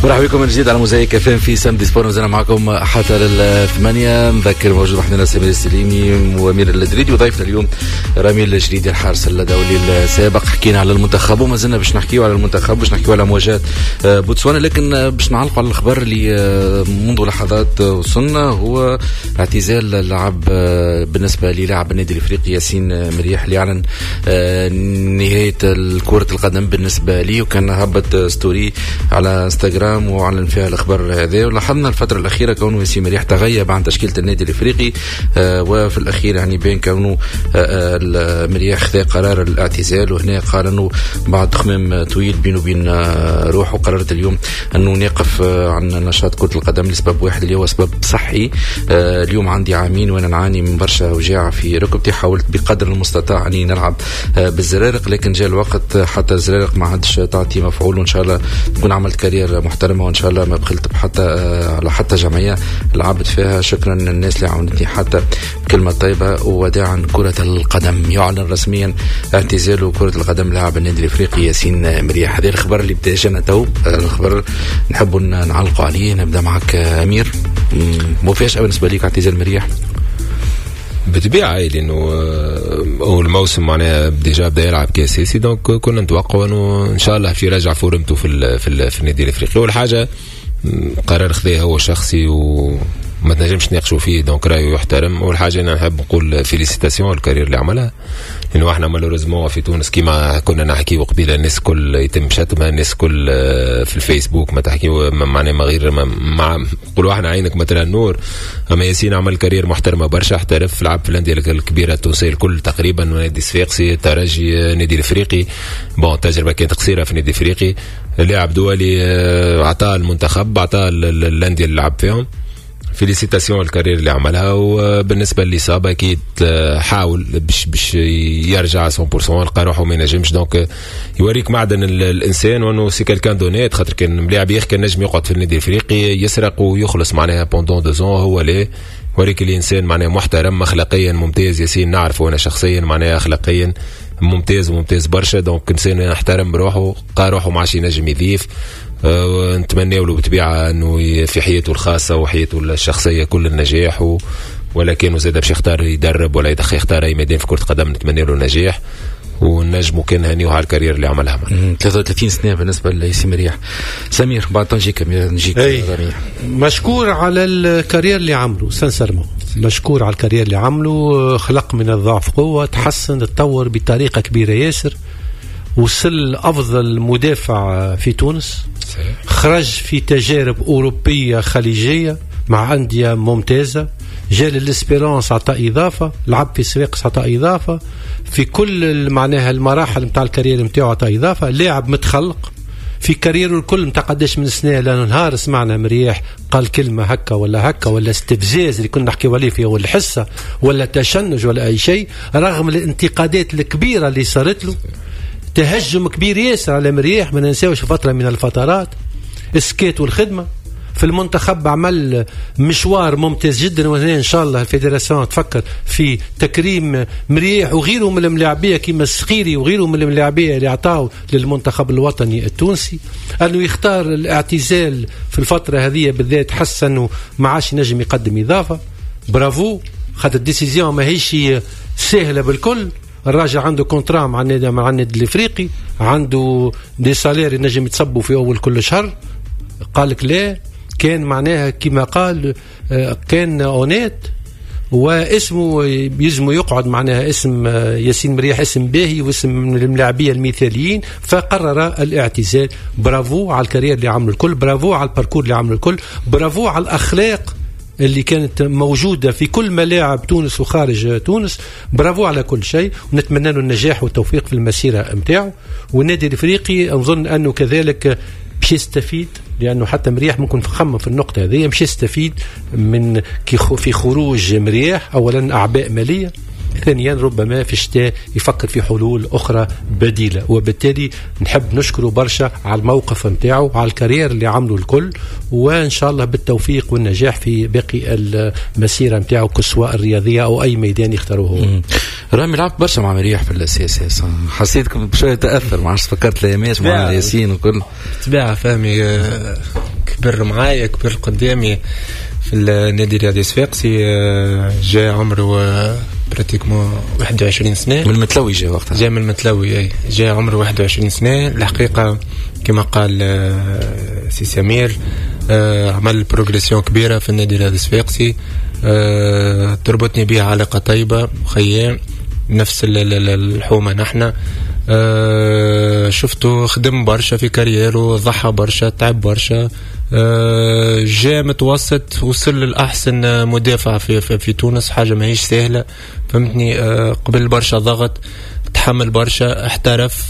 مرحبا بكم من جديد على موزايك اف ام في samedi sport، مازلنا معكم حتى للثمانية. نذكر موجود وحدنا سمير السليمي وامير الدريدي، وضيفنا اليوم رامي الجريدي الحارس الدولي السابق. حكينا على المنتخب وما زلنا باش نحكيو على المنتخب، باش نحكيو على مواجهة بوتسوانا، لكن باش نعلقوا على الخبر اللي منذ لحظات وصلنا، هو اعتزال اللاعب بالنسبة للاعب النادي الافريقي ياسين مرياح، اللي اعلن نهاية كرة القدم بالنسبة لي، وكان هبط story على انستغرام وأعلن فيها الأخبار هذا. ولاحظنا الفترة الأخيرة كونه ياسين مرياح تغيب عن تشكيلة النادي الإفريقي، وفي الأخير يعني بين كونه مرياح خذا قرار الاعتزال، وهنا قال أنه بعد تخمام طويل بينه وبين روحه قررت اليوم أنه نقف عن نشاط كرة القدم لسبب واحد اللي هو سبب صحي. اليوم عندي عامين وأنا نعاني من برشا وجاعة في ركبتي، حاولت بقدر المستطاع أني نلعب بالزرارق، لكن جاء الوقت حتى الزرارق ما عادش تعطي مفعول، وإن شاء الله نكون عملت carrière محترمة، وإن شاء الله ما بخلت بحتى على حتى جمعية لعبت فيها. شكرا للناس اللي عاونتني حتى بكلمة طيبة. ووداعا كرة القدم، يعلن رسميا اعتزاله كرة القدم لاعب النادي الإفريقي ياسين مرياح. هذا الخبر اللي بدا جانا تو، الخبر نحب نعلقوا عليه. نبدا معك أمير، مفاجأة بالنسبة ليك اعتزال مرياح؟ بالطبيعة لأنه أول الموسم معناها déjà بدا يلعب كأساسي، donc كنا نتوقعوا أنه إن شاء الله في يرجع forme تو في النادي الإفريقي. أول حاجة قرار خذاه هو شخصي وما تنجمش تناقشوا فيه، donc رايه يحترم. أول حاجة أنا نحب نقول félicitations ال carrière اللي عملها، لأنه احنا malheureusement في تونس كيما كنا نحكيو قبيلة الناس كل يتم شتمها، الناس كل في الفيسبوك ما تحكيو معناها ما غير مع نقولوا احنا عينك مثلا النور. اما ياسين عمل carrière محترمه برشا، احترف، لعب في الاندية الكبيرة التونسية الكل تقريبا، نادي الصفاقسي، الترجي، النادي الافريقي. bon التجربة كانت قصيرة في النادي الافريقي، لاعب دولي، عطاه المنتخب، عطاه الاندية اللي لعب فيهم. félicitations ال carrière اللي عملها. وبالنسبة للاصابة اكيد حاول باش يرجع 100%، لقى روحه ما ينجمش. donc يوريك معدن الانسان وانه c'est quelqu'un d'honnête، خاطر كان ملاعب يخ كان نجم يقعد في النادي الافريقي يسرق ويخلص معناها pendant 2 ans، هو لا، يوريك الانسان معناها محترم اخلاقيا ممتاز. ياسين نعرفه انا شخصيا معناها اخلاقيا ممتاز وممتاز برشا، donc انسان يحترم روحه، لقى روحه ما عادش ينجم يضيف. نتمنى له بالطبيعة انه في حياته الخاصة وحياته الشخصية كل النجاح، ولكن زاد باش يختار يدرب ولا يختار اي ميدان في كره قدم نتمنى له النجاح، ونجموا كان هنيوه على ال carrière اللي عملها. 33 سنة بالنسبة لياسين مرياح. سمير بعد نجيك نجيك. مشكور على ال carrière اللي عمله، sincèrement مشكور على ال carrière اللي عمله، خلق من الضعف قوة، تحسن، تطور بطريقة كبيرة ياسر، وصل افضل مدافع في تونس. خرج في تجارب اوروبية خليجية مع اندية ممتازة، جا لل Espérance عطى اضافه، لعب في صفاقس عطى اضافه، في كل معناها المراحل نتاع ال carrière نتاعو عطى اضافه. لاعب متخلق في carrière ه الكل نتاع قداش من سنة، لا نهار سمعنا مرياح قال كلمة هكا ولا هكا ولا استفزاز اللي كنا نحكيو عليه في اول الحصة، ولا تشنج ولا اي شيء، رغم الانتقادات الكبيرة اللي صارت له، تهجم كبير ياسر على مرياح، ما ننساوش فترة من الفترات السكات والخدمة في المنتخب، عمل مشوار ممتاز جدا. وهنا ان شاء الله ال fédération تفكر في تكريم مرياح وغيره من الملاعبيه كيما السخيري وغيره من الملاعبيه اللي عطاو للمنتخب الوطني التونسي. انه يختار الاعتزال في الفترة هذه بالذات، حس انه ما عادش ينجم يقدم اضافه. برافو، خاطر ال décision ماهيش سهلة بالكل. الراجل عنده contrat مع النادي الافريقي، عنده des salaires ينجم يتصبوا في اول كل شهر. قال لك لا، كان معناها كما قال كان honnête، واسمه يلزم يقعد معناها اسم ياسين مرياح اسم باهي واسم من الملاعبيه المثاليين، فقرر الاعتزال. برافو على ال carrière اللي عملوا الكل، برافو على ال parcours اللي عملوا الكل، برافو على الاخلاق اللي كانت موجودة في كل ملاعب تونس وخارج تونس، برافو على كل شيء، ونتمنى له النجاح والتوفيق في المسيرة نتاعو. والنادي الافريقي نظن انه كذلك باش يستفيد، لانه حتى مرياح ممكن خمم في النقطة هذه، باش يستفيد من في خروج مرياح اولا اعباء ماليه، ثانيا ربما في الشتاء يفكر في حلول اخرى بديله. وبالتالي نحب نشكره برشا على الموقف نتاعو، على ال carrière اللي عمله الكل، وان شاء الله بالتوفيق والنجاح في باقي المسيرة نتاعو، سواء الرياضية او اي ميدان يختاروه هو. رامي لعبت برشا مع مرياح في ال CSS، حسيتكم بشوية تاثر، ما عادش فكرت الايامات مع ياسين وكل. بالطبيعة فهمي. كبر معايا، كبر قدامي في النادي الرياضي الصفاقسي. جاء عمره pratiquement 21 سنة. من المتلوي جاء وقتها. جاء من المتلوي، اي، جاء عمره 21 سنة. الحقيقة كما قال سي سمير، عمل progression كبيرة في النادي الرياضي الصفاقسي. تربطني به علاقة طيبة، خيام نفس الحومه نحن. شفته خدم برشا في carrière و، ضحى برشا، تعب برشا. جاء متوسط، وصل للأحسن مدافع في تونس، حاجة ماهيش سهلة، فهمتني. قبل برشا ضغط، تحمل برشا، احترف،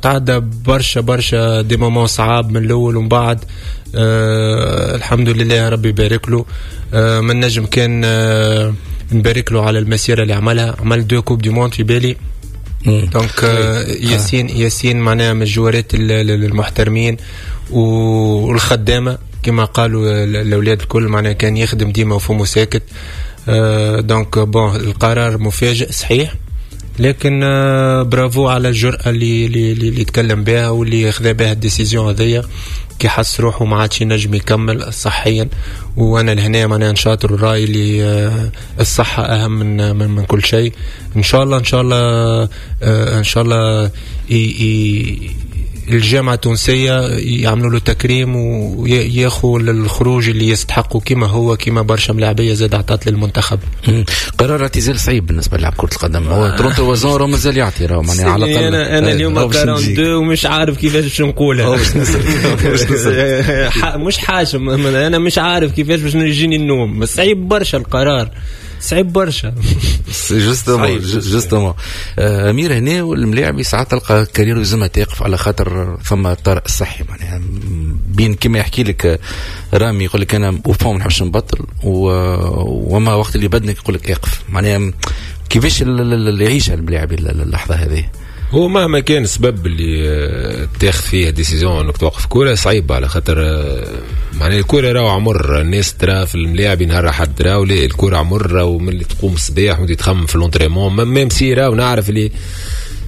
تعدى برشا برشا des moments صعاب من الاول ومن بعد. الحمد لله، ربي يبارك له. من نجم كان نبارك له على المسيرة اللي عملها. عمل deux coupes du monde في بالي. donc ياسين، ياسين معناها من الجوارات المحترمين والخدامه كما قالوا الاولاد الكل، معناها كان يخدم ديما وفمه ساكت. donc bon، القرار مفاجئ صحيح، لكن برافو على الجرأة اللي تكلم بها واللي خذا بها ال décision هذيا كي حس روحه ما عادش ينجم يكمل صحيا. وانا لهنا معناها نشاطر الراي اللي الصحة اهم من كل شيء. ان شاء الله، ان شاء الله، ان شاء الله الجامعة التونسية يعملوا له تكريم وياخذ الخروج اللي يستحقه، كما هو كما برشا ملاعبية زاد عطات للمنتخب. قرار اعتزال صعيب بالنسبة للاعب كرة القدم، هو 33 ans راه مازال يعطي، راه معناها على الأقل. أنا اليوم 42 ومش عارف كيفاش باش نقولها، مش حاشم، أنا مش عارف كيفاش باش يجيني النوم. صعيب برشا القرار، صعيب برشا. justement justement امير، هنا والملاعب ساعات تلقى carrière لازمها تقف على خاطر ثم طارئ الصحي، معناها بين كما يحكي لك رامي، يقول لك انا au fond ما نحبش نبطل، وما وقت اللي بدنك يقول لك اقف، معناها كيفاش اللي يعيشها الملاعب اللحظة هذه؟ هو مهما كان السبب اللي تاخذ فيه décision انك توقف كوره، صعيب، على خاطر معناها الكورة راهو عمر. الناس ترى في الملاعب نهار حد راهو لا، الكورة عمر، راهو من اللي تقوم الصباح وانت تخمم في l'entraînement، même si راهو نعرف اللي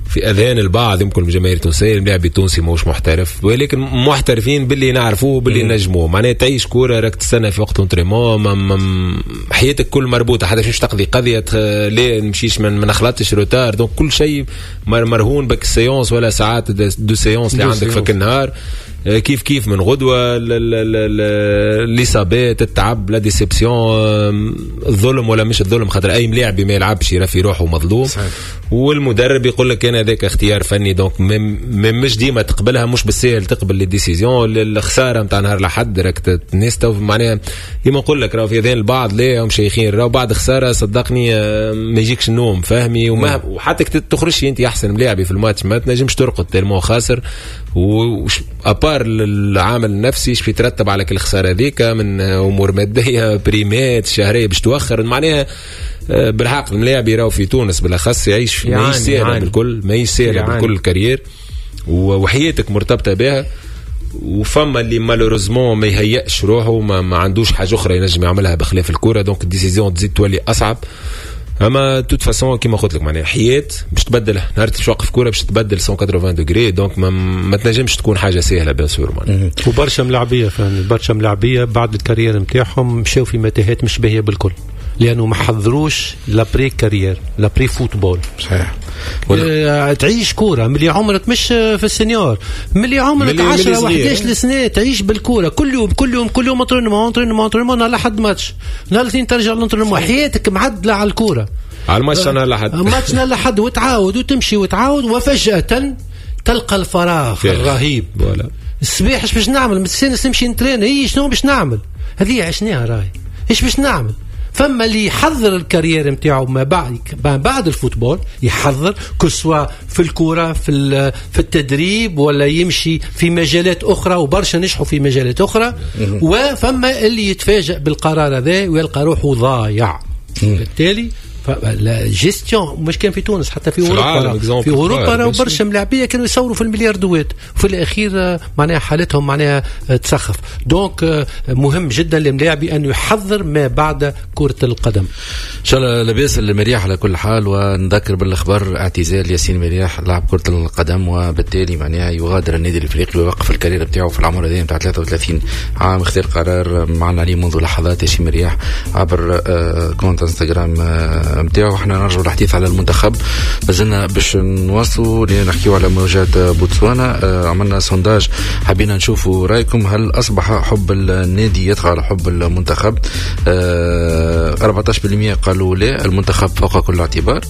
في اذهان البعض يمكن الجماهير التونسية الملاعب التونسي ماهوش محترف، ولكن محترفين باللي نعرفوه باللي نجموه. معناها تعيش كوره، راك تستنى في وقت l'entraînement، حياتك كل مربوطه، حتى باش تقضي قضية ليه نمشيش ما نخلطش retard. donc كل شيء مرهون بك séance ولا ساعات deux séances اللي عندك في النهار. كيف كيف من غدوه الاصابات، التعب، la déception، الظلم ولا مش الظلم، خاطر اي ملاعب ما يلعبش يرى في روحه مظلوم. صحيح. والمدرب يقول لك انا هذاك اختيار فني، donc مش ديما تقبلها، مش بالسهل تقبل les décisions. الخسارة نتاع نهار لحد راك الناس تو معناها ديما نقول لك راهو في اذان البعض لا هم شيخين، راهو بعد خسارة صدقني ما يجيكش النوم، فهمي، وما وحتى تخرجش انت احسن ملاعبي في الماتش ما تنجمش ترقد tellement خاسر. à part العامل النفسي، ايش يترتب على كل خسارة هذيك من امور ماديه، primes، شهرية باش توخر. معناها بالحق الملاعب يراو في تونس بالاخص يعيش ماهيش سهلة بالكل، ماهيش سهلة بالكل ال carrière، وحياتك مرتبطة بها. وفما اللي malheureusement ما يهيئش روحه، ما عندوش حاجة اخرى ينجم يعملها بخلاف الكوره، donc ال décision تزيد تولي اصعب. اما toute façon كيما قلت لك، معناها حياة باش تبدل نهار باش توقف كورة باش تبدل 180 degrés، donc ما تنجمش تكون حاجة سهلة bien sûr معناها. وبرشا ملاعبيه، فهمني، برشا ملاعبيه بعد ال carrière نتاعهم مشاو في متاهات مش باهيه بالكل، لانه ما حضروش l'après carrière، l'après football. صحيح. تعيش كورة ملي عمرك مش في ال senior، ملي عمرك 10 و11 سنة تعيش بالكورة كل يوم كل يوم كل يوم، entraînement entraînement entraînement، نهار لحد ماتش، نهار الاثنين ترجع l'entraînement، حياتك معدله على الكوره. على الماتش نهار لحد. ماتش نهار لحد، وتعاود وتمشي وتعاود، وفجاة تلقى الفراغ الرهيب. voilà. الصباح ايش باش نعمل؟ مستانس نمشي نترين، هي شنو باش نعمل؟ هذه عشناها راهي، ايش باش نعمل؟ فما اللي يحضر ال carrière نتاعو ما بعد ال football، يحضر que ce soit في الكوره، في التدريب، ولا يمشي في مجالات اخرى، وبرشا نجحوا في مجالات اخرى. وفما اللي يتفاجئ بالقرار هذا ويلقى روحه ضايع. بالتالي la gestion مش كان في تونس، حتى في اوروبا، في اوروبا راهو برشا ملاعبيه كانوا يصوروا في الملياردوات، وفي الاخير معناها حالتهم معناها تسخف. donc مهم جدا للملاعبي انه يحضر ما بعد كره القدم. ان شاء الله لاباس المرياح على كل حال. ونذكر بالاخبار اعتزال ياسين مرياح لاعب كره القدم، وبالتالي معناها يغادر النادي الافريقي ويوقف ال carrière بتاعه في العمر هذا نتاع 33 عام. اختار قرار معنا عليه منذ لحظات ياسين مرياح عبر compte انستغرام نتاعو. احنا نرجعوا للحديث على المنتخب، مازلنا باش نواصلوا نحكيو على مواجهة بوتسوانا. عملنا sondage، حبينا نشوفوا رايكم، هل اصبح حب النادي يطغى على حب المنتخب؟ 14% قالوا لا، المنتخب فوق كل اعتبار.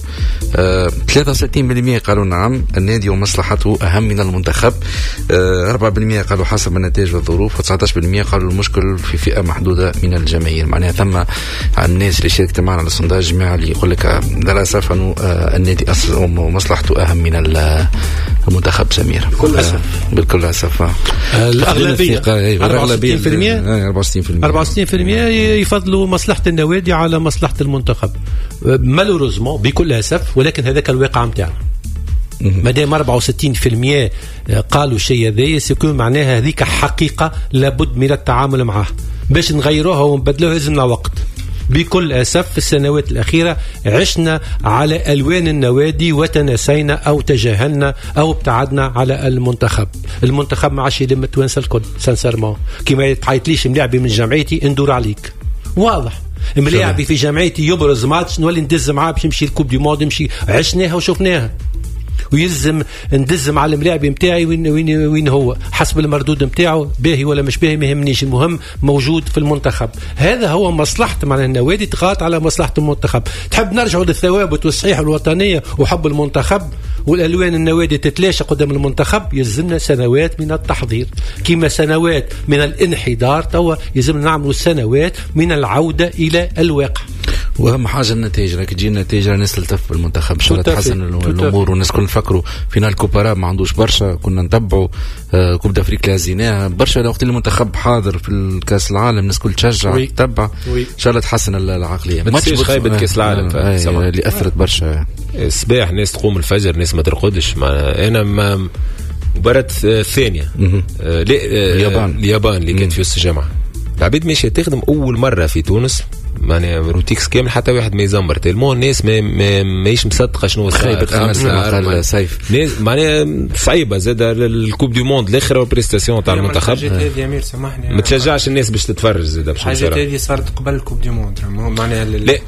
63% قالوا نعم، النادي ومصلحته اهم من المنتخب. 4% قالوا حسب النتائج والظروف، و19% قالوا المشكل في فئة محدودة من الجماهير. معناها ثم الناس اللي شاركت معنا على ال sondage جماعة اللي يقول لك للاسف انه النادي ومصلحته اهم من المنتخب. سمير بكل اسف، بكل اسف الاغلبية 64% 64% يفضلوا مصلحة النوادي على مصلحة المنتخب malheureusement، بكل اسف، ولكن هذاك الواقع نتاعنا. مادام 64% قالوا شيء هذايا c'est que معناها هذيك حقيقة لابد من التعامل معها. باش نغيروها ونبدلوها لازمنا وقت. بكل أسف في السنوات الأخيرة عشنا على ألوان النوادي وتناسينا أو تجاهلنا أو ابتعدنا على المنتخب. المنتخب ما عادش يلم التوانسة الكل sincèrement. كيما تعيطليش ملاعبي من جمعيتي ندور عليك، واضح. ملاعبي في جمعيتي يبرز ماتش نولي ندز معاه باش يمشي ال coupe du monde، يمشي. عشناها وشفناها. ويلزم ندز مع الملاعب نتاعي وين وين وين هو حسب المردود نتاعو، باهي ولا مش باهي ما يهمنيش، المهم موجود في المنتخب. هذا هو مصلحة معناها النوادي تغاط على مصلحة المنتخب. تحب نرجعوا للثوابت والصحيح الوطنية وحب المنتخب والالوان النوادي تتلاشى قدام المنتخب، يلزمنا سنوات من التحضير كما سنوات من الانحدار، توا يلزمنا نعملوا سنوات من العودة الى الواقع. واهم حاجة النتائج، راك تجي النتائج الناس تلتف بالمنتخب ان شاء الله تحسن الامور، والناس كل نفكروا finale coupe arabe ما عندوش برشا، كنا نتبعوا coupe d'Afrique اللي هزيناها برشا، وقت المنتخب حاضر في الكاس العالم الناس كل تشجع تتبع، ان شاء الله تحسن العقلية. ما تنساش خيبه كاس العالم اللي اثرت برشا. الصباح ناس تقوم الفجر، ناس ما ترقدش. انا ما مباراة الثانية اليابان اللي كانت في وسط الجامعة، العبيد ماشية تخدم اول مرة في تونس، معناها روتيكس كامل حتى واحد ما يزمر tellement الناس ماهيش مصدقه شنو صار. سيف معناها صعيبة زاد ال coupe du monde الاخرى وال prestation تاع المنتخب. الحاجات هذه امير سامحني ما تشجعش الناس باش تتفرج زاد. الحاجات هذه صارت قبل ال coupe du monde، معناها لا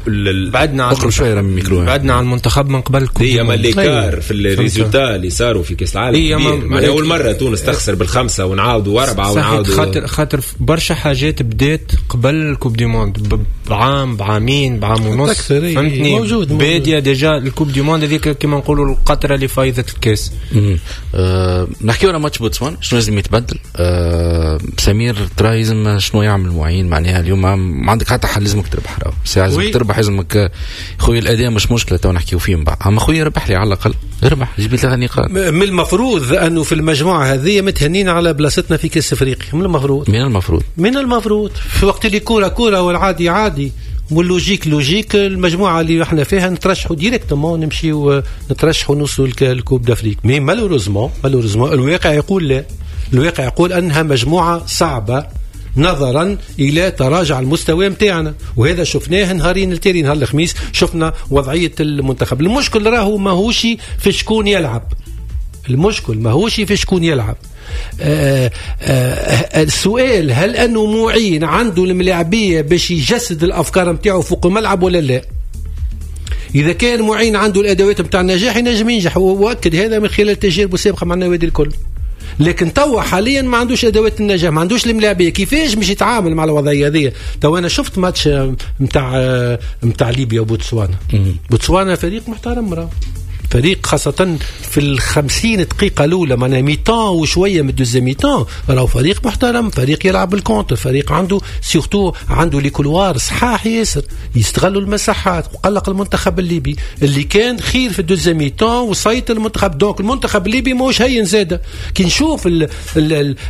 بعدنا عن شوية الميكرو، بعدنا عن المنتخب من قبل ال coupe. هي ما l'écart في ال résultat اللي صاروا في كاس العالم، معناها اول مرة تونس تخسر بالخمسة ونعاودوا واربعة ونعاودوا، خاطر برشا حاجات بدات قبل ال coupe du monde بعام بعامين بعام ونص، فهمتني؟ موجود باديه déjà ال coupe du monde هذيك كيما نقولوا القطرة اللي فايضه الكاس. نحكيو على ماتش بوتسوانا شنو لازم يتبدل. سمير ترى لازم شنو يعمل معين؟ معناها اليوم ما عندك حتى حل، لازمك تربح، راهو لازمك تربح، لازمك خويا الاداء مش مشكلة تو نحكيو فيه من بعد، اما خويا ربح لي على الاقل، ربح جيب 3 نقاط. من المفروض انه في المجموعة هذه متهنين على بلاصتنا في كاس افريقيا، من المفروض، من المفروض، من المفروض في وقت اللي كورة كورة والعادي عادي وال logique logique، المجموعة اللي احنا فيها نترشحوا directement، نمشيو نترشحوا نوصلوا لل coupe d'Afrique. mais malheureusement malheureusement الواقع يقول لا، الواقع يقول انها مجموعة صعبة نظرا الى تراجع المستوى نتاعنا، وهذا شفناه نهارين التالي، نهار الخميس شفنا وضعية المنتخب. المشكل راهو ماهوش في شكون يلعب، المشكل ماهوش في شكون يلعب. السؤال هل أنه معين عنده الملاعبية باش يجسد الأفكار نتاعو فوق الملعب ولا لا؟ إذا كان معين عنده الأدوات نتاع النجاح ينجم ينجح، وأكد هذا من خلال تجاربه السابقة مع النوادي الكل. لكن توا حاليا ما عندوش ادوات النجاح، ما عندوش الملاعبيه، كيفاش باش يتعامل مع الوضعية هذه؟ توا انا شفت ماتش نتاع ليبيا وبوتسوانا. بوتسوانا فريق محترم، راه فريق خاصة في 50 دقيقة الأولى، معناها mi-temps وشوية من ال deuxième mi-temps، راهو فريق محترم، فريق يلعب بال contre، فريق عنده surtout عنده les couloirs صحاح ياسر، يستغلوا المساحات، وقلق المنتخب الليبي اللي كان خير في ال deuxième mi-temps وسيطر المنتخب. donc المنتخب الليبي ماهوش هين زادة. كي نشوف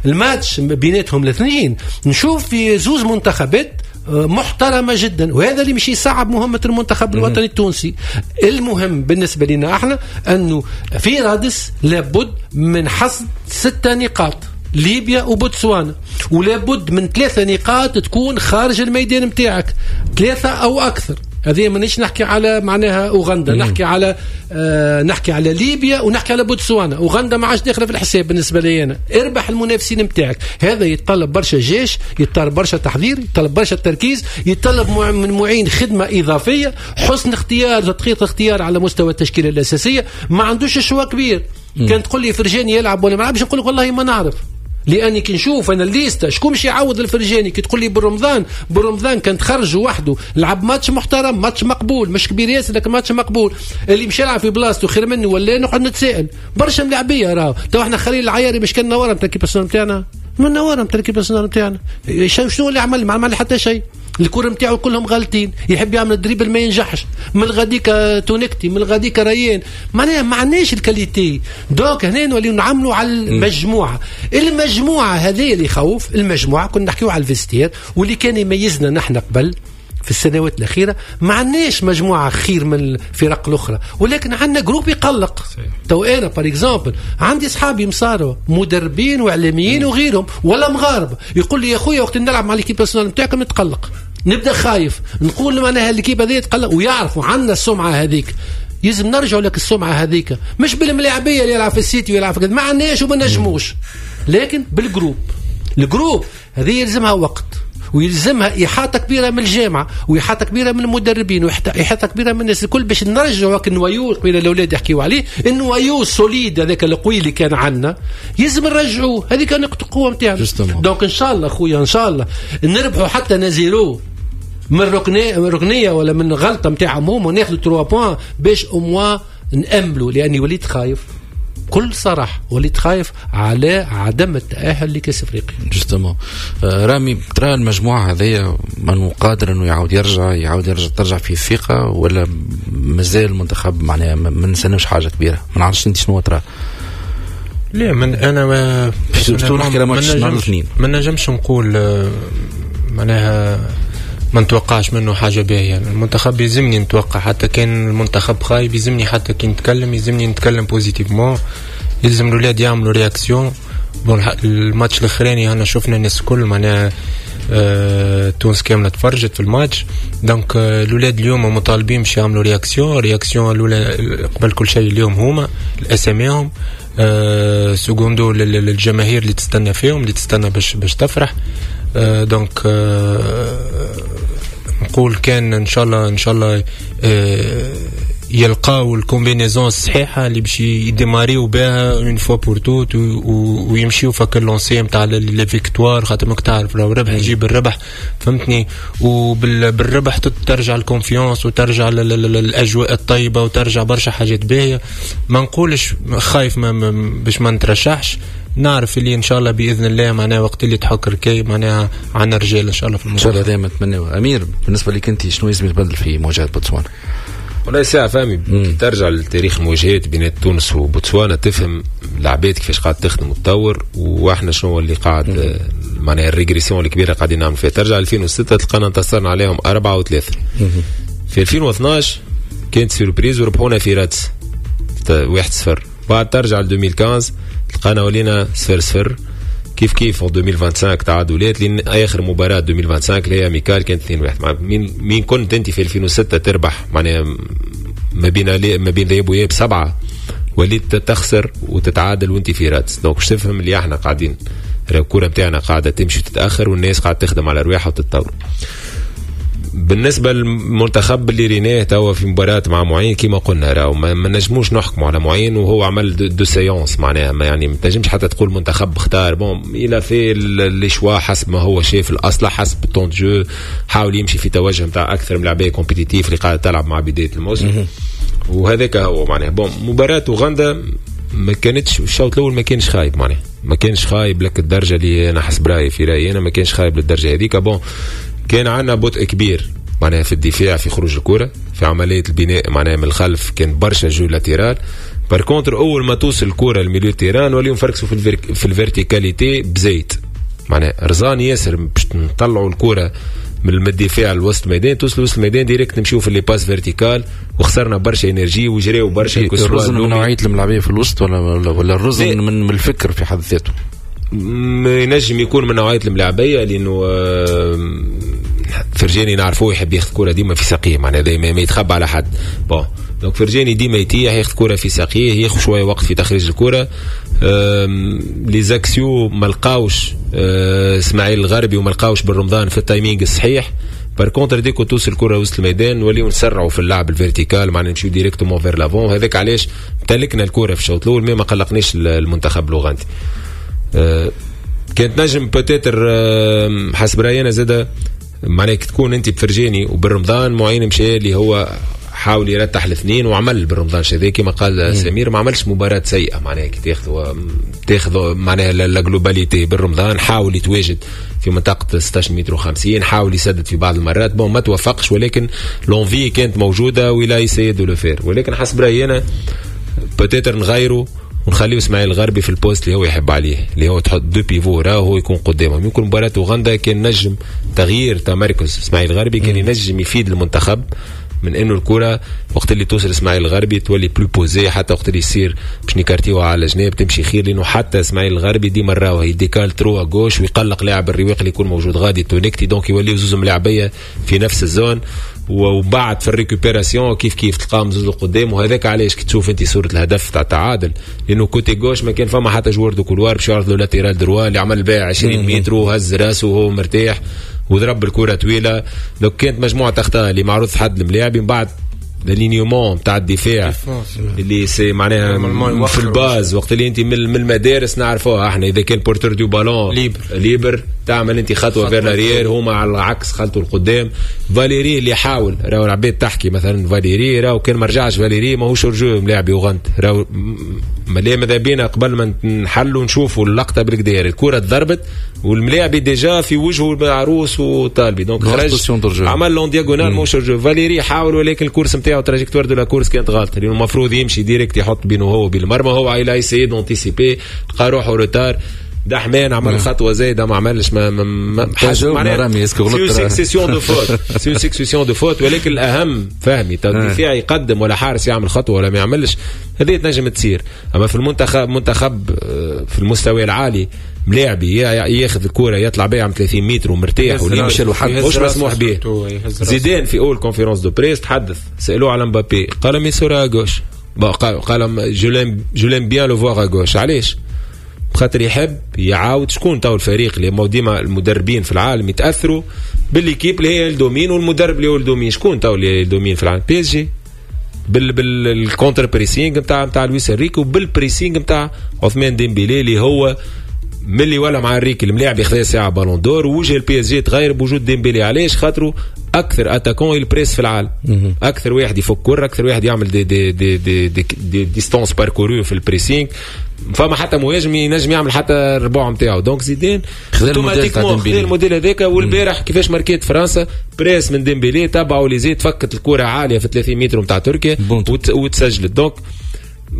الماتش بيناتهم الاثنين، نشوف في زوز منتخبات محترمه جدا، وهذا اللي مش يصعب مهمة المنتخب الوطني التونسي. المهم بالنسبة لنا احنا انه في رادس لابد من حصد 6 نقاط، ليبيا وبوتسوانا، ولابد من 3 نقاط تكون خارج الميدان نتاعك، 3 او اكثر. هذه مانيش نحكي على معناها اوغندا، نحكي على نحكي على ليبيا ونحكي على بوتسوانا. اوغندا ما عادش داخله في الحساب بالنسبة لي انا. اربح المنافسين نتاعك، هذا يتطلب برشا جيش، يتطلب برشا تحضير، يتطلب برشا تركيز، يتطلب من معين خدمة اضافية، حسن اختيار، تدقيق اختيار على مستوى التشكيلة الاساسية. ما عندوش choix كبير. كان تقول لي فرجاني يلعب ولا ما يلعبش، نقول لك والله ما نعرف، لاني كي نشوف انا ال liste شكون مش يعوض الفرجاني. كي تقول لي بالرمضان كان تخرج وحده لعب ماتش محترم، ماتش مقبول، مش كبير ياسر لكن ماتش مقبول، اللي مش يلعب في بلاصته خير منه ولا نقعد نتسائل. برشا ملاعبيه راهو تو احنا خليل العياري مش كان نواره نتاع l'équipe nationale نتاعنا، من نواره نتاع l'équipe nationale نتاعنا، شنو اللي عمل؟ ما عمل حتى شيء. الكرة نتاعو كلهم غالطين، يحب يعمل dribble ما ينجحش، من غاديك تونكتي، من غاديك ريان، معناها ما عندناش ال qualité. donc هنا نوليو نعملوا على المجموعة، المجموعة هذه اللي يخوف. المجموعة كنا نحكيو على ال vestiaire واللي كان يميزنا نحن قبل في السنوات الأخيرة، ما عندناش مجموعة خير من الفرق الأخرى، ولكن عندنا groupe يقلق. تو أنا par exemple عندي صحابي مصاروا مدربين وإعلاميين وغيرهم ولا مغاربة، يقول لي يا خويا وقت نلعب مع l'équipe nationale نتاعكم نتقلق، نبدا خايف، نقول معناها l'équipe هذه تقلق، ويعرفوا عندنا السمعة هذيك. يلزم نرجعوا لك السمعة هذيك، مش بالملاعبيه اللي يلعب في السيتي ويلعب في كذا، ما عندناش وما نجموش، لكن بال groupe. ال groupe هذه يلزمها وقت، ويلزمها إحاطة كبيرة من الجامعة، وإحاطة كبيرة من المدربين، وإحاطة كبيرة من الناس الكل، باش نرجعوا ال noyau قبيلة الأولاد يحكيوا عليه، ال noyau solide هذاك القوي اللي كان عندنا يلزم نرجعوه، هذيك نقطة القوة نتاعنا. donc إن شاء الله خويا، إن شاء الله نربحوا حتى un à zéro من ركنية ولا من غلطة نتاعهم هما، وناخذوا 3 points باش au moins نأملوا، لأني وليت خايف بكل صراحة، وليت خايف على عدم التأهل لكأس افريقيا. justement رامي، ترى المجموعة هذيا من قادر انه يعاود يرجع ترجع فيه الثقة، ولا مازال المنتخب معناها ما نستناوش حاجة كبيرة؟ ما نعرفش انت شنو ترى. لا من انا ما نجمش نقول معناها ما نتوقعش منه حاجة باهية. يعني المنتخب يلزمني نتوقع، حتى كان المنتخب خايب يلزمني، حتى كي نتكلم يلزمني نتكلم positivement، يلزم الأولاد يعملوا réaction. bon ال match الأخراني أنا شفنا الناس الكل معناها تونس كاملة تفرجت في ال match. donc الأولاد اليوم مطالبين باش يعملوا réaction. réaction الأولى قبل كل شيء اليوم هما الأساميهم، secundo للجماهير اللي تستنى فيهم، اللي تستنى باش تفرح. donc نقول كان ان شاء الله، ان شاء الله يلقاو ال combinaison الصحيحة اللي باش يديماريو بها une fois pour toutes، ويمشيو فك ال lancée نتاع les victoires، خاطر ماك تعرف لو ربح يجيب الربح، فهمتني؟ وبالربح ترجع ال confiance وترجع الاجواء الطيبة وترجع برشا حاجات باهيه. ما نقولش خايف باش ما نترشحش، نعرف اللي ان شاء الله باذن الله معناها وقت اللي تحك ركاي معناها عندنا رجال ان شاء الله في الموضوع. ان شاء الله دائما نتمناو. امير، بالنسبة لك انت شنو لازم يتبدل في مواجهة بوتسوانا؟ والله ساعة فهمي، ترجع لتاريخ المواجهات بين تونس وبوتسوانا تفهم العباد كيفاش قاعد تخدم وتطور، واحنا شنو اللي قاعد معناها ال régression الكبيرة قاعدين نعمل فيها. ترجع 2006 تلقانا انتصرنا عليهم 4-3. في 2012 كانت surprise وربحونا في رادس 1-0. بعد ترجع ل 2015 تلقانا ولينا 0-0. كيف كيف 2025 تعادلات، لان اخر مباراة 2025 اللي هي amicale كانت 2-1. مين كنت انت في 2006 تربح معناها ما بين ذهاب وإياب 7، وليت تخسر وتتعادل وانت في رادس. donc باش تفهم اللي احنا قاعدين الكورة نتاعنا قاعدة تمشي وتتاخر، والناس قاعدة تخدم على رواحها وتتطور. بالنسبة للمنتخب اللي ريناه توا في مباراة مع معين كما قلنا راهو ما نجموش نحكموا على معين وهو عمل deux séances، معناها ما يعني ما تنجمش حتى تقول منتخب اختار. bon il a fait les choix حسب ما هو شايف الاصلح، حسب ال temps de jeu، حاول يمشي في توجه نتاع اكثر من لعبيه compétitifs اللي قاعدة تلعب مع بداية الموسم، وهذاك هو معناها. bon مباراة اوغندا ما كانتش، الشوط الاول ما كانش خايب، معناها ما كانش خايب لك الدرجة اللي انا حسب رايي في رايي انا ما كانش خايب للدرجة هذيك. bon كان عندنا بطء كبير معناها في الدفاع، في خروج الكرة، في عملية البناء معناها من الخلف، كان برشا jeu latéral. par contre أول ما توصل الكرة لل milieu terrain وليو نفركسوا في ال verticalité بزيت، معناها رزان ياسر باش نطلعوا الكرة من الدفاع لوسط الميدان، توصل وسط الميدان direct نمشيو في les passes verticales وخسرنا برشا énergie وجريو برشا. الرزن من نوعية الملاعبيه في الوسط ولا الرزن من الفكر في حد ذاته؟ ينجم يكون من نوعية الملاعبيه، لانه فرجاني نعرفوه يحب ياخذ كره ديما في ساقيه، معناها دايما ما يتخبى على حد. bon donc فرجاني ديما يتيح ياخذ كره في ساقيه، ياخذ شوية وقت في تخريج الكره. les axiaux ما لقاوش اسماعيل الغربي وما لقاوش بالرمضان في ال timing الصحيح. par contre dès que توصل الكره وسط الميدان نوليو نسرعوا في اللعب ال vertical، معناها نمشيو directement vers l'avant. هذاك علاش امتلكنا الكره في الشوط الاول، mais ما قلقنيش المنتخب الاوغندي. كانت نجم peut-être حسب رايي انا زاده، معناها تكون انت بفرجاني وبالرمضان معين مشى اللي هو حاول يرتح الاثنين وعمل بالرمضان هذا كما قال سمير، ما عملش مباراة سيئة، معناها كي تاخذ معناها la globalité. بالرمضان حاول يتواجد في منطقة 16 متر و50، حاول يسدد في بعض المرات، bon ما توفقش، ولكن l'envie كانت موجودة و il a essayé de le faire. ولكن حسب رأيي أنا peut-être نغيره ونخليه اسماعيل الغربي في ال poste اللي هو يحب عليه، اللي هو تحط deux pivots راه هو يكون قدامهم. يمكن مباراة اوغندا كان نجم تغيير تمركز اسماعيل الغربي كان ينجم يفيد المنتخب، من انه الكره وقت اللي توصل اسماعيل الغربي تولي plus posée، حتى وقت اللي يصير باش نكارتيوها على جناب تمشي خير، لانه حتى اسماعيل الغربي ديما راهو ي décale trop à gauche ويقلق لاعب الرواق اللي يكون موجود غادي تونكتي، donc يوليو زوز ملاعبيه في نفس ال zone. وبعد في ال récupération كيف كيف تلقاهم زوز قدام. وهذاك علاش كي تشوف انت صوره الهدف تاع التعادل، لانه côté gauche ما كان فما حتى joueur de couloir باش يعرض له latéral droit اللي عمل بها 20 متر وهز راسه وهو مرتاح وضرب الكره طويلة. donc كانت مجموعة اخطاء اللي معروض حد الملاعب. من بعد l'alignement تاع الدفاع اللي c'est معناها في ال base وقت اللي انت من المدارس نعرفوها احنا، اذا كان porteur du ballon libre تعمل انت خطوة vers l'arrière، هما على العكس خلطوا القدام. فاليري اللي حاول، راهو العباد تحكي مثلا فاليري، راهو كان ما رجعش فاليري ماهوش hors-jeu ملاعب يوغندا، راهو ماذا بينا قبل ما نحلوا نشوفوا اللقطة بالكدير، الكره تضربت والملاعب déjà في وجهه عروس وطالبي، donc خرج عمل l'en diagonale ماهوش hors-jeu. فاليري حاول ولكن ال course نتاعو trajectoire de la course كانت غلطه، لانه المفروض يمشي direct يحط بينه هو وبين المرمى، هو il a essayé d'anticiper لقى روحه retard. دحمان عمل خطوة زايدة ما عملش ما معناها c'est succession de fautes، c'est succession de fautes. ولكن الاهم فهمي الدفاع يقدم ولا حارس يعمل خطوة ولا ما يعملش، هذه تنجم تصير. اما في المنتخب منتخب في المستوى العالي ملاعبي ياخذ الكره يطلع بها عن 30 متر ومرتاح ويمشي له حد مش مسموح به. زيدان في اول conférence de presse تحدث، سالوه على مبابي قال mais sera à gauche، قال je l'aime bien le voir à gauche. علاش؟ خاطر يحب يعاود شكون تو الفريق اللي ديما المدربين في العالم يتاثروا بال l'équipe اللي هي ال domine والمدرب اللي هو ال domine. شكون تو اللي ال domine في العالم؟ PSG بال contre-pressing نتاع لويس انريكي وبال pressing نتاع عثمان ديمبيلي اللي هو ملي ولا مع انريكي الملاعب ياخذ ساعة ballon d'or، ووجه ال PSG تغير بوجود ديمبيلي. علاش؟ خاطرو اكثر attaquant il presse في العالم، اكثر واحد يفك كره، اكثر واحد يعمل des des des des, des, des distances parcourues في ال pressing، فما حتى مهاجم ينجم يعمل حتى الربع نتاعو. donc زيدان automatiquement خذا الموديل هذاك. والبارح كيفاش ماركيت فرنسا presse من ديمبيلي تبعوا ليزيد فكت الكره عالية في 30 متر نتاع تركيا وتسجلت. donc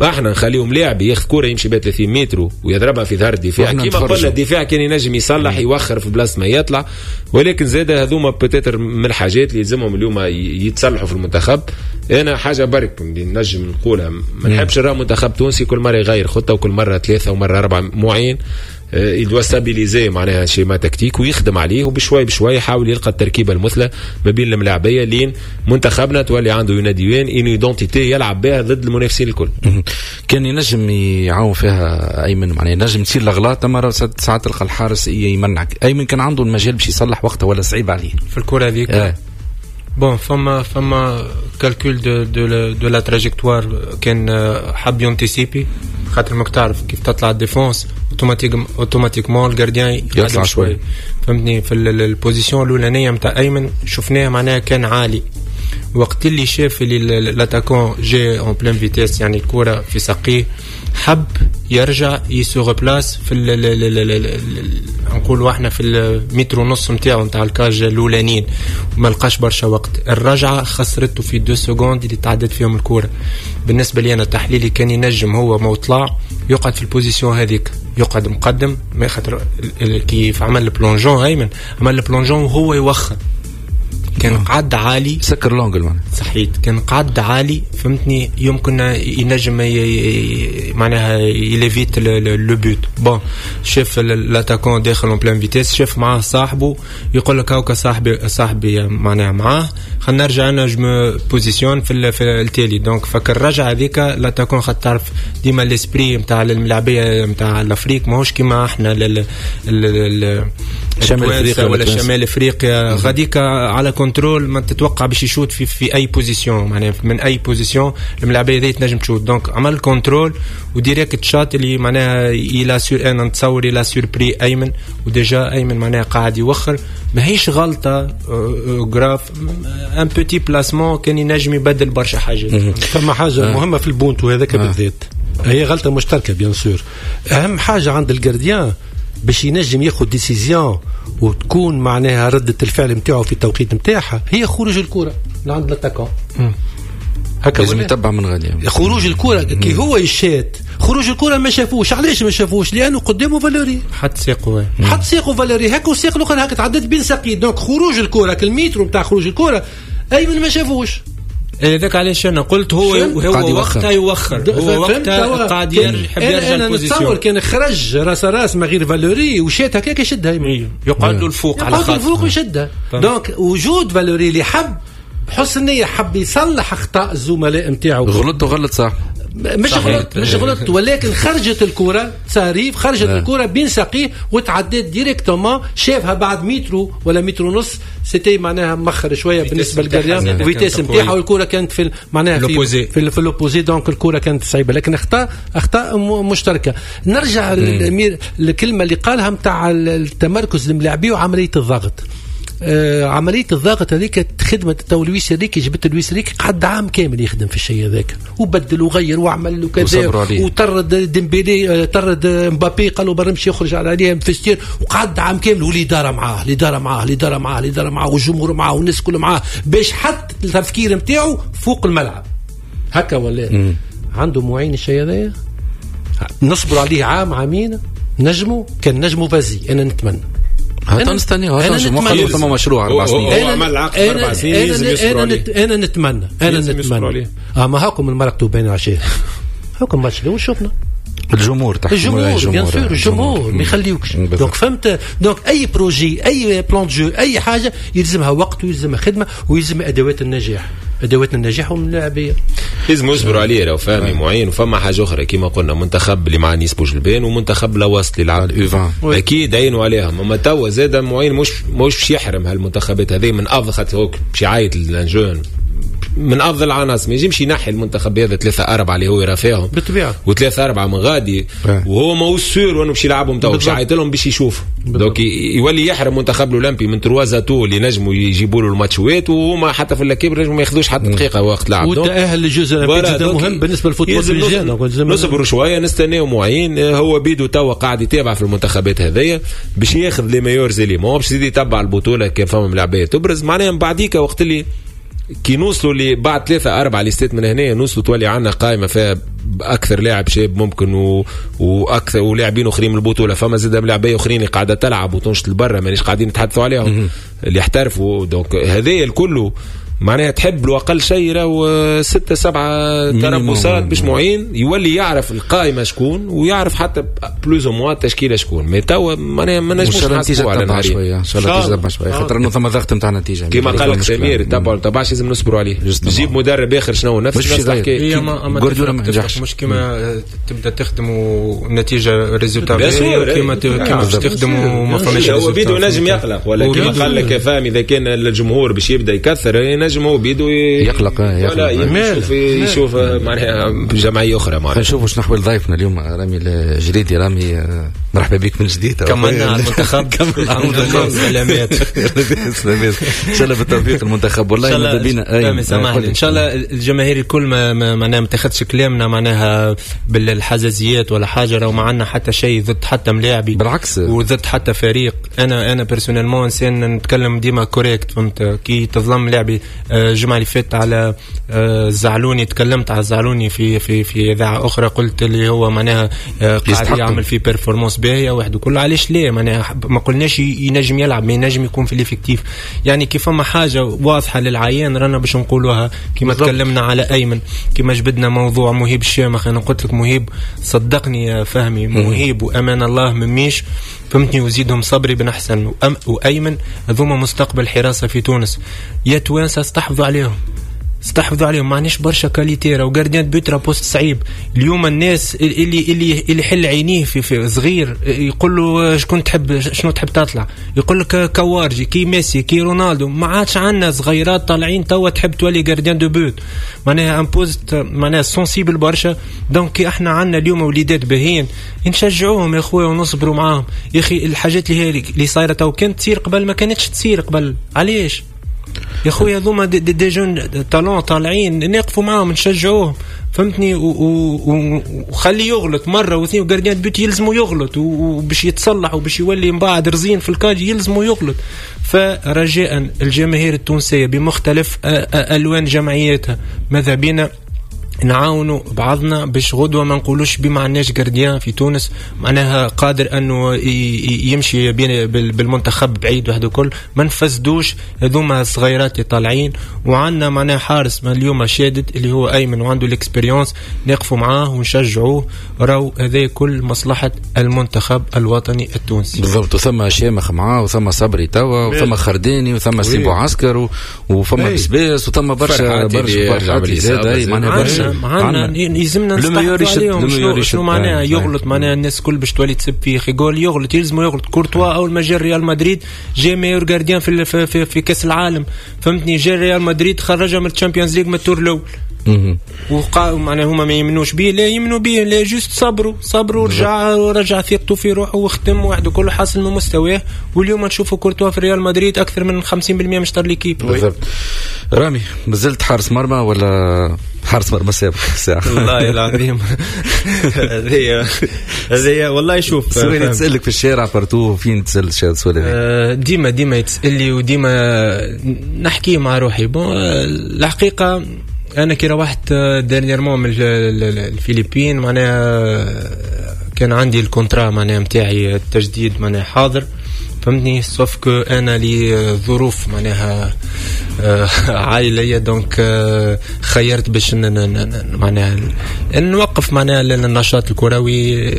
احنا نخليهم لاعب ياخذ كورة يمشي بها 30 متر ويضربها في ظهر الدفاع، كيما قلنا الدفاع كان ينجم يصلح يوخر في بلاصة ما يطلع. ولكن زاد هذوما peut-être من الحاجات اللي يلزمهم اليوم يتصلحوا في المنتخب. انا حاجة برك اللي نجم نقولها، ما نحبش نرى منتخب تونسي كل مرة يغير خطه وكل مرة ثلاثة ومرة اربعة. معين il doit stabiliser معناها schéma tactique ويخدم عليه، وبشوي بشوي يحاول يلقى التركيبة المثلى ما بين الملاعبيه لين منتخبنا تولي عنده une ADN une identité يلعب بها ضد المنافسين الكل. كان ينجم يعاون فيها ايمن، معناها ينجم تصير الاغلاط، اما ساعات تلقى الحارس يمنعك. ايمن كان عنده المجال باش يصلح وقتها ولا صعيب عليه في الكره هذيك؟ bon فما calcul de la trajectoire، كان حب ي anticiper خاطر ماك تعرف كيف تطلع ال défense automatiquement ال gardien يطلع شوي، فهمتني. في ال position الاولانية نتاع ايمن شفناه معناها كان عالي، وقت اللي شاف اللي l'attaquant جاي en pleine vitesse، يعني الكره في ساقيه، حب يرجع ي se replace في نقولوا احنا في المتر ونص نتاعو نتاع ال cage الاولانيين، وما لقاش برشا وقت. الرجعة خسرته في 2 secondes اللي تعدت فيهم الكورة. بالنسبة لي انا تحليلي كان ينجم هو ما طلع يقعد في ال position هذيك، يقعد مقدم، ما خاطر كيف عمل ال plongeon ايمن عمل ال plongeon وهو يوخر، كان قعد عالي سكر l'angle معناها. صحيت، كان قعد عالي فهمتني، يمكن ينجم معناها il évite le but. bon شاف l'attaquant داخل en pleine vitesse، شاف معاه صاحبه يقول لك هاكا صاحبي معناها معاه، خلينا نرجع انا je me positionne في التالي. donc فك الرجعة هذيك l'attaquant خاطر تعرف ديما l'esprit نتاع الملاعبيه نتاع l'Afrique ماهوش كيما احنا شمال افريقيا ولا شمال افريقيا. غاديك على contrôle ما تتوقع باش يشوت في اي position، معناها من اي position الملاعبيه هذه تنجم تشوت. donc عمل contrôle و direct شات اللي معناها il a sur انا نتصور il a surpris ايمن، و déjà ايمن معناها قاعد يوخر. ماهيش غلطه grave، un petit placement كان ينجم يبدل برشا حاجات. فما حاجة مهمة في البونتو هذاك بالذات، هي غلطه مشتركة bien sûr. اهم حاجة عند ال gardien باش ينجم ياخذ décision وتكون معناها ردة الفعل نتاعو في التوقيت نتاعها هي خروج الكرة لعند l'attaquant. هكا لازم يتبع من غادي خروج الكرة كي هو يشات خروج الكرة ما شافوش. علاش ما شافوش؟ لأنه قدامه فالوري، حط ساقه، حط ساقه فالوري هكا والساق الأخر هكا تعدت بين ساقيه. donc خروج الكرة المترو نتاع خروج الكرة أيمن ما شافوش. هذاك علاش انا قلت هو وقتها يوخر، هو وقتها قاعد يحب يرجع ال position. انا نتصور كان خرج راس راس ما غير فالوري وشات هكاك يشدها، يقعد له الفوق على خاطر الفوق ويشدها. donc وجود فالوري اللي حب بحسن نية حب يصلح اخطاء الزملاء نتاعو، غلط وغلط صح، مش غلط مش غلط، ولكن خرجت الكرة ساريف، خرجت الكرة بين ساقيه وتعدت directement، شافها بعد مترو ولا متر ونص، c'était معناها مخر شوية بالنسبة لل gardien vitesse نتاعها، والكرة كانت في معناها في l'opposé. donc الكرة كانت صعيبة، لكن اخطاء مشتركة. نرجع للامير الكلمة اللي قالها نتاع التمركز الملاعبي وعملية الضغط. عملية الضغط هذيك خدمة تو لويس انريكي، جبت لويس انريكي قعد عام كامل يخدم في الشيء هذاك، وبدل وغير وعمل وكذا، وطرد ديمبيلي، طرد مبابي، قالوا برمشي يخرج على عليه vestiaire، وقعد عام كامل والإدارة معاه، الإدارة معاه، الإدارة معاه، الإدارة معاه، والجمهور معاه، والناس كله معاه، باش حط التفكير نتاعو فوق الملعب هكا. ولا عنده معين الشيء هذايا، نصبر عليه عام عامين، نجمو كان نجمو vas-y. أنا نتمنى هات نستنى، هات نشوف ثم مشروع 4 سنين، هو عمل عقد 4 سنين لازم يصبروا عليه. انا نتمنى، انا نتمنى ما هاكم المرقتوا بين عشية، هاكم ماتش الاول شفنا الجمهور تحت الجمهور bien sûr، الجمهور ما يخليوكش. donc فهمت، donc اي projet، اي plan de jeu، اي حاجة يلزمها وقت ويلزمها خدمة ويلزم ادوات النجاح، ادوات النجاح والملاعبيه لازم يصبروا عليه. راهو فهمي معين. وفما حاجة اخرى كما قلنا، منتخب اللي مع نيس بوجلبان ومنتخب لوسط اللي لعب اكيد عينوا عليهم. اما توا زاد معين مش باش يحرم هالمنتخبات هذه من افضل، خاطر هو باش يعيط لل jeunes من افضل العناصر، ما يجمش ينحي المنتخب هذا 3-4 اللي هو يرى فيهم بالطبيعة، و3-4 من غادي، وهو ماهوش sûr وانه باش يلعبهم تو، باش يعيط لهم باش يشوف. donc يولي يحرم منتخب الاولمبي من 3 atouts اللي نجموا يجيبوا له الماتشوات، وهما حتى في الكبر نجموا ما ياخذوش حتى دقيقة وقت لعب. والتاهل لل Jeux olympiques جدا مهم بالنسبة لل football tunisien. نصبروا شوية، نستناو معين، هو بيدو توا قاعد يتابع في المنتخبات هذيا باش ياخذ les meilleurs éléments، باش يزيد يتبع البطولة كان فما ملاعبيه تبرز معناها. من بعديك وقت اللي كي نوصلوا اللي بعد 3-4 ليستات من هنا نوصلوا تولي عندنا قائمة فيها اكثر لاعب شاب ممكن واكثر ولاعبين اخرين من البطولة، فما زاد ملاعبيه اخرين اللي قاعدة تلعب وتنشط لبرا مانيش قاعدين نتحدثوا عليهم اللي احترفوا. donc هذايا الكل معناها تحب له اقل شيء راهو 6-7 تربصات باش معين يولي يعرف القائمة شكون ويعرف حتى plus ou moins التشكيلة شكون. mais توا معناها ما نجموش نحسبوا على نهارين شوية، ان شاء الله النتيجة تبع شوية، خاطر انه ثم ضغط نتاع النتيجة كيما قال لك سمير تبع تبعش لازم نصبروا عليه. جيب مدرب اخر شنو نفس الحكاية، جوارديولا ما نجحش، مش كيما تبدا تخدم والنتيجة résultat كيما تخدم وما فماش. هو بيدو نجم يقلق، ولا كيما قال لك فاهم اذا كان الجمهور باش يبدا يكثر نجم هو بيدو يقلق ولا يشوف معناها جمعية اخرى. معناها نشوفوا شنو نحو ضيفنا اليوم رامي الجريدي. رامي مرحبا بك من جديد، كملنا على المنتخب، كملنا على المنتخب. سلامات سلامات، ان شاء الله بالتوفيق المنتخب. والله ماذا بينا سامحني، ان شاء الله الجماهير الكل ما معناها ما تاخذش كلامنا معناها بالحزازيات ولا حاجة، راهو ما عندنا حتى شيء ضد حتى ملاعبي، بالعكس، وضد حتى فريق. انا personnellement انسان نتكلم ديما correct، فهمت؟ كي تظلم لاعبي الجمعة اللي فاتت على الزعلوني، تكلمت على الزعلوني في في في اذاعة اخرى، قلت اللي هو معناها قاعد يعمل في performance باهيه واحد وكل. علاش لا؟ معناها ما قلناش ينجم يلعب، ما ينجم يكون في l'effectif. يعني كيف فما حاجة واضحة للعيان رانا باش نقولوها، كما تكلمنا على ايمن، كما جبدنا موضوع مهيب الشامخ. انا قلت لك مهيب، صدقني يا فهمي، مهيب وامان الله مميش، فهمتني، وزيدهم صبري بن حسن وايمن، هذوما مستقبل حراسة في تونس. يا توانسة استحفظوا عليهم، استحفظوا عليهم، ما عندناش برشا qualité. راهو gardien de but راه poste صعيب. اليوم الناس اللي يحل عينيه في صغير يقول له شكون تحب، شنو تحب تطلع، يقول لك كوارجي، كي ميسي، كي رونالدو. ما عادش عندنا صغيرات طالعين توا تحب تولي gardien de but، معناها un poste معناها sensible برشا. donc احنا عندنا اليوم وليدات باهيين، نشجعوهم يا خويا ونصبروا معاهم يا اخي. الحاجات اللي هي اللي صايرة تو كانت تصير قبل، ما كانتش تصير قبل. علاش يا خويا؟ هذوما des jeunes talents طالعين، نقفوا معاهم، نشجعوهم، فهمتني، وخليه يغلط مرة واثنين. و gardien de but يلزمو يغلط وباش يتصلح وباش يولي من بعد رزين في ال cage يلزمو يغلط. فرجاء الجماهير التونسية بمختلف الوان جمعياتها، ماذا بينا نعاونوا بعضنا باش غدوه ما نقولوش بما عندناش gardien في تونس معناها قادر انه يمشي بالمنتخب بعيد وحده كل. ما نفسدوش هذوما الصغيرات اللي طالعين، وعندنا معناها حارس ما اليوم شادد اللي هو ايمن وعنده l'expérience، نقفوا معاه ونشجعوه. راهو هذا كل مصلحة المنتخب الوطني التونسي. بالضبط، وثم شامخ معاه، وثم صبري توا، وثم خرداني، وثم سيبو عسكر، وفما بسباس، وثم برشا برشا، معناها برشا. عندنا يلزمنا نستحفظوا عليهم. شنو معناها يغلط؟ معناها الناس الكل باش تولي تسب فيه. خي يقول يغلط، يلزمو يغلط. كورتوا اول ما جا ريال مدريد جا meilleur gardien في كاس العالم، فهمتني، جا ريال مدريد خرجها من ال Champions League من ال tour الاول. وقع معناها هما ما يمنوش به، لا يمنوا به، لا juste صبروا صبروا، رجع ورجع ثقته في روحه وخدم وحده كله حسن من مستواه. واليوم نشوفوا كورتوا في ريال مدريد اكثر من 50% مش l'équipe. بالضبط. رامي، مازلت حارس مرمى ولا حارس مرمى سابق ساعة؟ والله العظيم هذه والله شوف، سؤال تسألك في الشارع partout، فين تسأل السؤال هذا؟ ديما ديما يتسأل لي وديما نحكي مع روحي. bon، الحقيقة انا كي روحت dernièrement من الفلبين معناها كان عندي ال contrat معناها نتاعي التجديد معناها حاضر، فهمتني، sauf que انا لي ظروف معناها عائلية، donc خيرت باش معناها نوقف معناها النشاط الكروي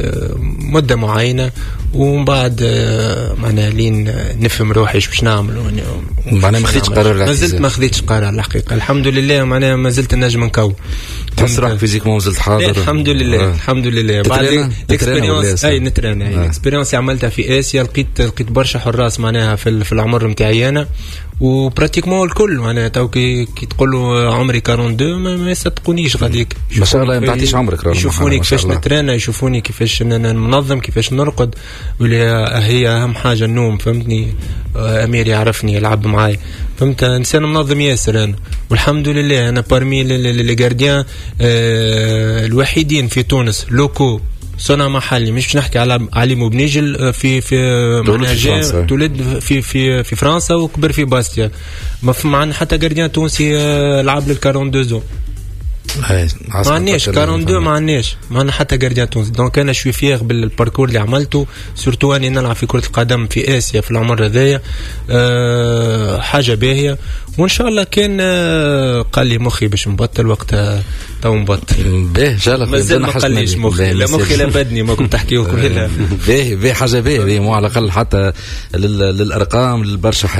مده معينه، ومن بعد معناها لين نفهم روحي ايش باش نعمل. معناها ما خذيتش قرار؟ ما زلت ما خذيتش قرار الحقيقه. الحمد لله معناها ما زلت نجم نكون. تحس روحك physiquement مازلت حاضر؟ الحمد لله. الحمد لله. بعد l'expérience، اي نترين، l'expérience اللي عملتها في اسيا لقيت برشا حراس معناها في العمر نتاعي انا، و pratiquement الكل معناها تو كي تقول له عمري 42 ما يصدقونيش غاديك. ما شاء الله، ما تعطيش عمرك. يشوفوني كيفاش نترينا، يشوفوني كيفاش ننظم، كيفاش نرقد، واللي هي اهم حاجة النوم، فهمتني. امير يعرفني، يلعب معاي، فهمت، انسان منظم ياسر انا. والحمد لله انا parmi les gardiens الوحيدين في تونس locaux، صنع محلي، مش باش نحكي على علي مبنيجل في تولد في فرنسا وكبر في باستيا. ما معنا حتى gardien تونسي لعب لل 42. ما عندناش 42، ما عندناش، ما عندنا حتى gardien تونسي. donc انا je suis fier بال parcours اللي عملته، surtout اني نلعب في كره القدم في اسيا في العمر هذايا، حاجة باهيه. وان شاء الله كان قال لي مخي باش نبطل وقتها تو نبطل. باهي، ان شاء الله. مازال ما قاليش مخي، لا مخي لا بدني، ما كنت تحكيو كلها. باهي باهي، حاجة باهيه، مو على الاقل حتى للارقام، للبرشا حاجات.